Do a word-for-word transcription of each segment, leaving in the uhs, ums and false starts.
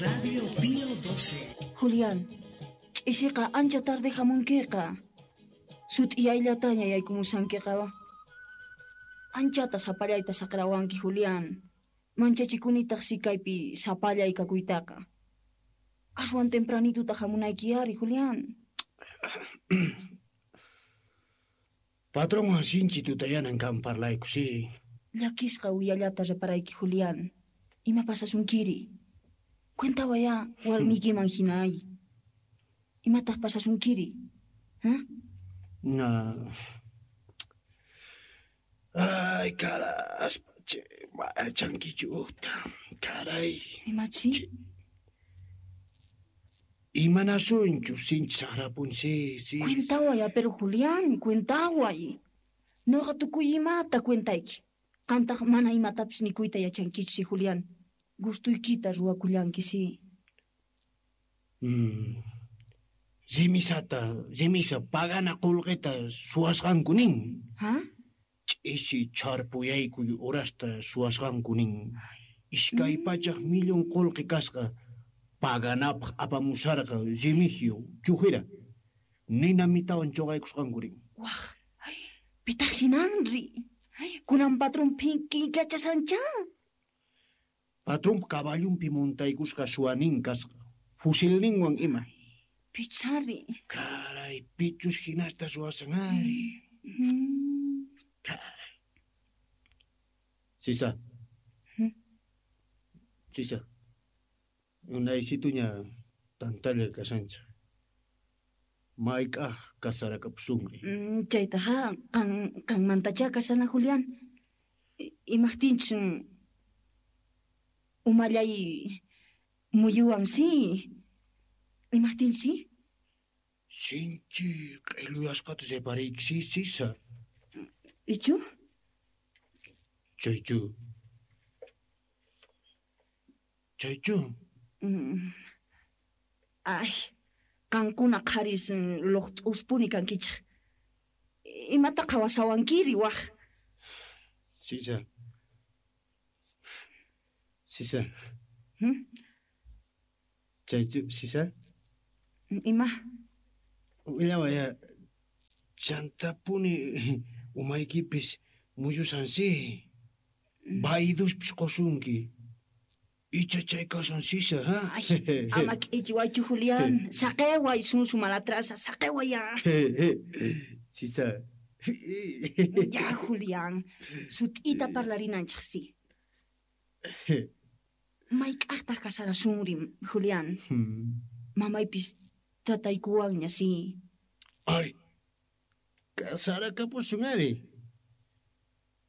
Radio Pío doce. Julián, ch'isiqa ancha tarde hamunkiqa. Sut'iyayllataña yaykumusankiqa. Anchata sapallayta saqrawanki, Julián. Manchachikunitaq sikaypi sapallay kakuytaqa. Aswan tempranituta hamunayki ari, Julián. Patronwan sinchi tutayanan kan parlayku, sí. Llakisqa uyallata reparayki, Julián. Ima pasasunkiri? Cuentawaya warmiykiman hina ay. Imataq pasasunkiri? ¿Ah? No. Ay, caraspa, che, chankichu uqta. Caray. Imachi? Imanasunchu sinchi saqrapun, sí, sí. Cuentaway, pero Julián, cuentaway. Noqa tukuy imata cuentayki. Qantaq mana imatapis nikuyta yachankichu, sí, Julián. Gustuykita ruwakullanki, sí. Mm. Rimisata, rimisa pagana qullqita suwasqanku nin. Ha? Ch'isi chharpuyaykuy horasta suwasqanku nin. Iskay pachaj millón qullqi kasqa paganapaq apamusarqa Remigio chujira. Nina mitawan chuqaykusqanku rin. Waj, pitaq hinanri. Kunan patrón phinkillachasanchá. Patronpa caballunpi montaykusqa suwanin kasqa. Fusilninwan ima. Pichari. Caray, pichus hinasta suwasan ari. Mm. Caray. Sisa. Hmm? Sisa. Unaysituña tantalla kasancha. Mayk'aj kasarakapusunri. Mm, chaytaqa qan qanmantachá kasana, Julián. Imaqtinchus umallay muyuwan, sí. Imaqtinchus, sí? Sinchi q'illuyasqata reparayki, sí, Sisa. Ichu? Chaychu. Chaychu. Mm. Ay, qankuna qharis luqt'uspuni kankichej. Imata qhawasawankiri waj? Sisa. Sisa. Hmm? Chaychu, Sisa? Ima? Willawaya, chantapuni umaykipis muyusan, sí. Bayduspis qusunki. Icha chay kasan, Sisa, ha? Ay, ama k'ichiwaychu, Julián. Saqeway, sunsu malatrasa, saqeway ya. Sisa. Ya, Julián. Sut'ita parlarinanchej, sí. Mayk'ajtaq kasarasunri, Julián? Hmm. Mamaypis trataykuwanña, sí. Ay, kasarakapusun ari.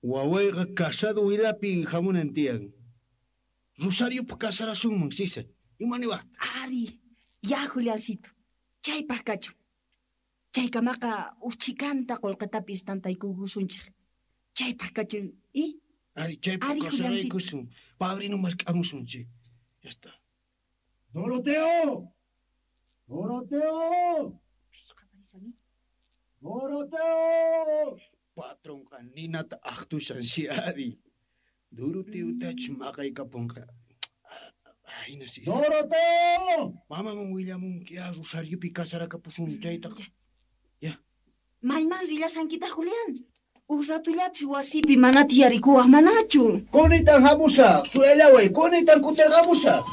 Wawayqa casado wilapi hamunan tiyan. Rosariopa kasarasunman, Sisa. Ima niwaqta? Ari, ya, Juliancito. Chaypaq kachun. Chaykamaqa uchikanta qullqitapis tantaykukusunchej. Chaypaq kachun, i? Ari, chaypaq Ari, Juliancito. kasaraykusun. Padrino mask'amusun, chi. Ya está. ¡Doroteo! ¡Doroteo! Pisu qaparisani. ¡Doroteo! Patronqa ninata aqtushan, si ari. Doroteotach maqaykapunqa. Ayna, Sisa. ¡Doroteo! Mamaman willamunki, ah, Rosariopi kasarakapusun chaytaqa. Ya. Mayman rillasankitaq, Julián? Uj ratullapis wasipi mana tiyarikuwaj manachu. Kunitan hamusaq, suyallaway, kunitan kutirqamusaq.